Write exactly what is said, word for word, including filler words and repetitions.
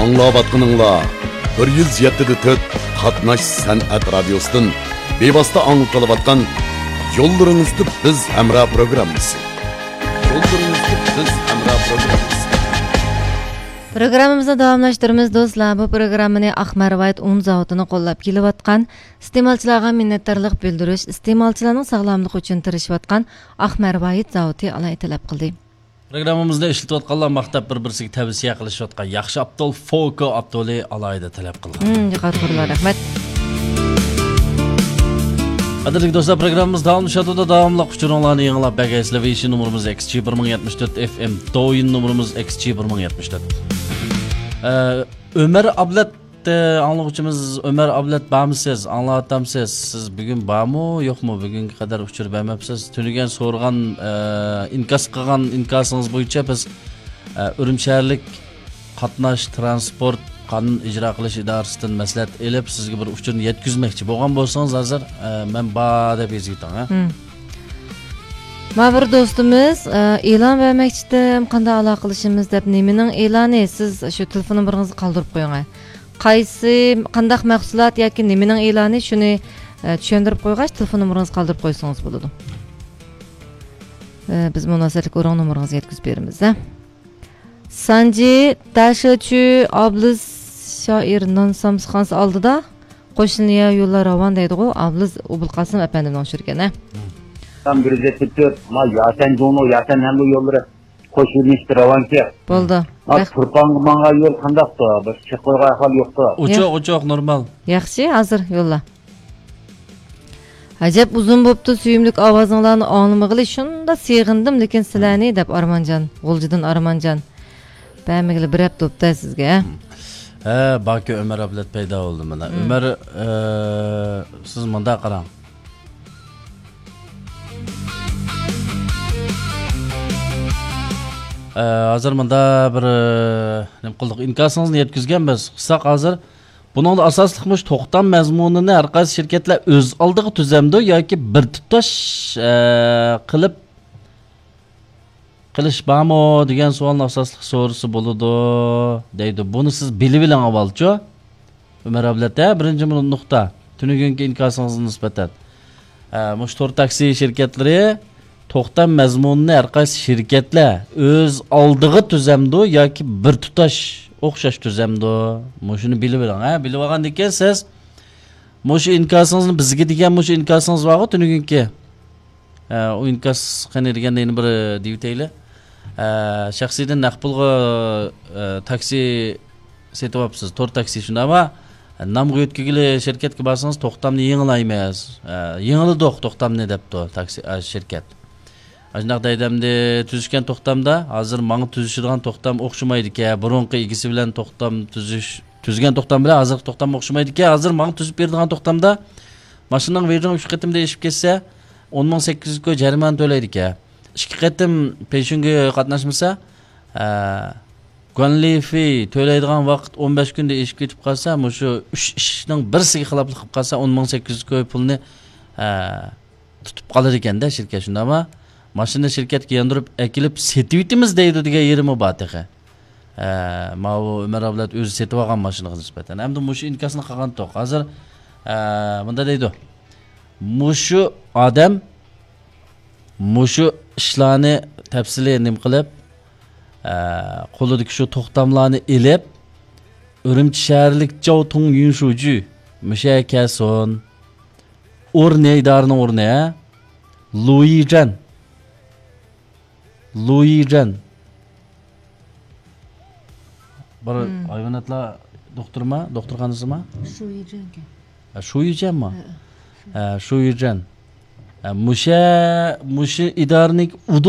ئاڭلاۋاتقىنىڭلار بىر يۈز يەتتە دە تۆت قاتناش سەنئەت رادىيوسىدىن بىۋاسىتە ئاڭلىتىلىۋاتقان يوللىرىڭىزدا بىز ھەمراھ پروگراممىسى. يوللىرىڭىزدا بىز ھەمراھ پروگراممىسى. پروگراممىمىزنى داۋاملاشتۇرىمىز، دوستلار. بۇ پروگراممىنى ئاق مەرۋايىت ئۇن زاۋۇتىنى قوللاپ كېلىۋاتقان، ئىستېمالچىلارغا مىننەتدارلىق بىلدۈرۈش، ئىستېمالچىلارنىڭ ساغلاملىقى ئۈچۈن تىرىشىۋاتقان ئاق مەرۋايىت زاۋۇتى ئالاھىدە تەلەپ قىلدى. پروگراممىمىزنى ئىشلىتىۋاتقانلار ماختاپ بىر-بىرسىگە تەۋسىيە قىلىشىۋاتقان ياخشى ئاپتول فوكو ئاپتولى ئالاھىدە تەلەپ قىلغان. مم، يۇقىرى قۇرلار، رەھمەت. قەدىرلىك دوستلار، پروگراممىمىز داۋاملىشىۋاتىدۇ. داۋاملىق ئۇچۇرۇڭلارنى يېڭىلاپ بەرگەيسىلەر. ۋېيشىن نومۇرىمىز ئېكس جى بىر مىڭ يەتمىش تۆت ئېف ئېم، دوۋيىن نومۇرىمىز ئېكس جى بىر مىڭ يەتمىش تۆت. ئە، ئۆمەر ئابلەت، ئە، ئاڭلىغۇچىمىز ئۆمەر ئابلەت بارمۇسىز؟ ئاڭلاۋاتامسىز؟ سىز بۈگۈن بارمۇ، يوقمۇ؟ بۈگۈنگە قەدەر ئۇچۇر بەرمەپسىز. تۈنۈگۈن سورىغان، ئە، ئىنكاس قىلغان ئىنكاسىڭىز بويىچە بىز، ئە، ئۈرۈمچى شەھەرلىك قاتناش، تىرانسپورت، قانۇن ئىجرا قىلىش ئىدارىسىدىن مەسلىھەت ئېلىپ، سىزگە بىر ئۇچۇرنى يەتكۈزمەكچى بولغان بولسىڭىز، ھازىر، ئە، مەن بار دەپ يېزىۋېتىڭ، ھە؟ مم. ما بىر دوستىمىز، ئە، ئېلان بەرمەكچىدىم، قانداق ئالاقىلىشىمىز دەپ. نېمىنىڭ ئېلانى؟ سىز شۇ تېلېفون نومۇرىڭىزنى قالدۇرۇپ قويۇڭ، ھە. قايسى، قانداق مەھسۇلات ياكى نېمىنىڭ ئېلانى، شۇنى، ئە، چۈشەندۈرۈپ قويغاچ، تېلېفون نومۇرىڭىزنى قالدۇرۇپ قويسىڭىز بولىدۇ. ئە، بىز مۇناسىۋەتلىك ئورۇن نومۇرىڭىزنى يەتكۈزۈپ بېرىمىز، ھە. سانجى، داشىچۈ، ئابلىز شائىر نان سامسىخانىسى ئالدىدا، قوشنىيا يوللار راۋان دەيدىغۇ، ئابلىز ئوبۇلقاسىم ئەپەندىمنىڭ ئۇچۇرى ئىكەن، ھە؟ سان بىر يۈز يەتتە تۆت، ما ياسەن جۇڭنو، ياسەن ھەمبۇ يوللىرى قوشۇلمىشتى راۋانكى. بولدى. ما رەھ-، تۇرپانغا ماڭغان يول قانداقتۇ؟ بىر چىقىپ قويغان ئەھۋال يوقتۇ. ئوچۇق، ياق. ئوچۇق، نورمال. ياخشى، ھازىر يوللا. ئەجەب ئۇزۇن بوپتۇ، سۆيۈملۈك ئاۋازىڭلارنى ئاڭلىمىغىلى شۇنداق سېغىندىم، لېكىن سىلەرنى، دەپ ئارمانجان، غۇلجىدىن ئارمانجان. بەرمىگىلى بىر ھەپتە بوپتۇ سىزگە، ھە؟ ھە، باكى ئۆمەر ئابلەت پەيدا بولدى مانا. مم. ئۆمەر، ئە، سىز مۇنداق قاراڭ. ئە، ھازىر مۇندا بىر، ئە، نېمە قىلدۇق؟ ئىنكاسىڭىزنى يەتكۈزگەنمىز. قىلساق ھازىر بۇنىڭدا ئاساسلىق مۇشۇ توختام مەزمۇنىنى ھەر قايسى شىركەتلەر ئۆز ئالدىغا تۈزەمدۇ ياكى بىر تۇتاش، ئە، قىلىپ قىلىش بارمۇ دېگەن سوئالنى ئاساسلىق سورىسا بولىدۇ دەيدۇ. بۇنى سىز بىلىۋېلىڭ ئاۋۋالچۇ. ئۆمەر ئابلەت، ھە، بىرىنچى نۇقتا. تۈنۈگۈنكى ئىنكاسىڭىزغا نىسبەتەن. ئە، مۇشۇ تور تاكسى شىركەتلىرى توختام مەزمۇنىنى ھەر قايسى شىركەتلەر ئۆز ئالدىغا تۈزەمدۇ ياكى بىر تۇتاش ئوخشاش تۈزەمدۇ؟ مۇشۇنى بىلىۋېلىڭ، ھە. بىلىۋالغاندىن كېيىن سىز مۇشۇ ئىنكاسىڭىزنى بىزگە دېگەن مۇشۇ ئىنكاسىڭىز بارغۇ تۈنۈگۈنكى. ئە، ئۇ ئىنكاس قېنى دېگەندە يەنە بىر دېيىۋېتەيلى. ئە، شەخسىيدىن نەق پۇلغا، ئە، تاكسى سېتىۋاپسىز، تور تاكسى شۇنداقمۇ؟ نامغا يۆتكىگىلى شىركەتكە بارسىڭىز، توختامنى يېڭىلايمىز. ئە، يېڭىلىدۇق توختامنى دەپتۇ تاكسى، ئە، شىركەت. ئاشۇنداق دەيدۇ، ئەمدى تۈزۈشكەن توختامدا، ھازىر ماڭا تۈزۈشىدىغان توختام ئوخشىمايدىكەن، بۇرۇنقى ئىگىسى بىلەن توختام تۈزۈش، تۈزگەن توختام بىلەن ھازىرقى توختام ئوخشىمايدىكەن، ھازىر ماڭا تۈزۈپ بېرىدىغان توختامدا ماشىنىنىڭ ۋېيجىڭ ئۈچ قېتىمدا ئېشىپ كەتسە، ئون مىڭ سەككىز يۈز كوي جەرىمانە تۆلەيدىكەن. ئىككى قېتىم پېيشۇنگا قاتناشمىسا، ئە، گۇەنلىفېي تۆلەيدىغان ۋاقىت ئون بەش كۈندە ئېشىپ كېتىپ قالسا، مۇشۇ ئۈچ ئىشنىڭ بىرسىگە خىلاپلىق قىلىپ قالسا، ئون مىڭ سەككىز يۈز كوي پۇلنى، ئە، تۇتۇپ قالىدىكەن-دە شىركەت، شۇنداقمۇ؟ ماشىنا شىركەتكە ياندۇرۇپ ئەكېلىپ سېتىۋېتىمىز دەيدۇ دېگەن يېرىمۇ بار تېخى. ئە، ماۋۇ ئۆمەر ئابلەت ئۆزى سېتىۋالغان ماشىنىغا نىسبەتەن. ئەمدى مۇشۇ ئىنكاسنى قىلغانتۇق. ھازىر، ئە، مۇنداق دەيدۇ. مۇشۇ ئادەم مۇشۇ ئىشلارنى تەپسىلىي نېمە قىلىپ، ئە، قولىدىكى شۇ توختاملارنى ئېلىپ، ئۈرۈمچى شەھەرلىك جاۋ تۇڭ يۈن شۇجۈ مۇشۇ يەرگە كەلسۇن. ئورنى، ئىدارىنىڭ ئورنى، ھە؟ لۇيىجەن. لۇيىجەن. بىر مم. ھايۋاناتلار دوختۇرما؟ دوختۇرخانىسىما؟ شۇيىجەنكەن. ھە، شۇيىجەنما؟ ھە. ھە، شۇيىجەن. ھە، مۇشە-، مۇشۇ ئىدارىنىڭ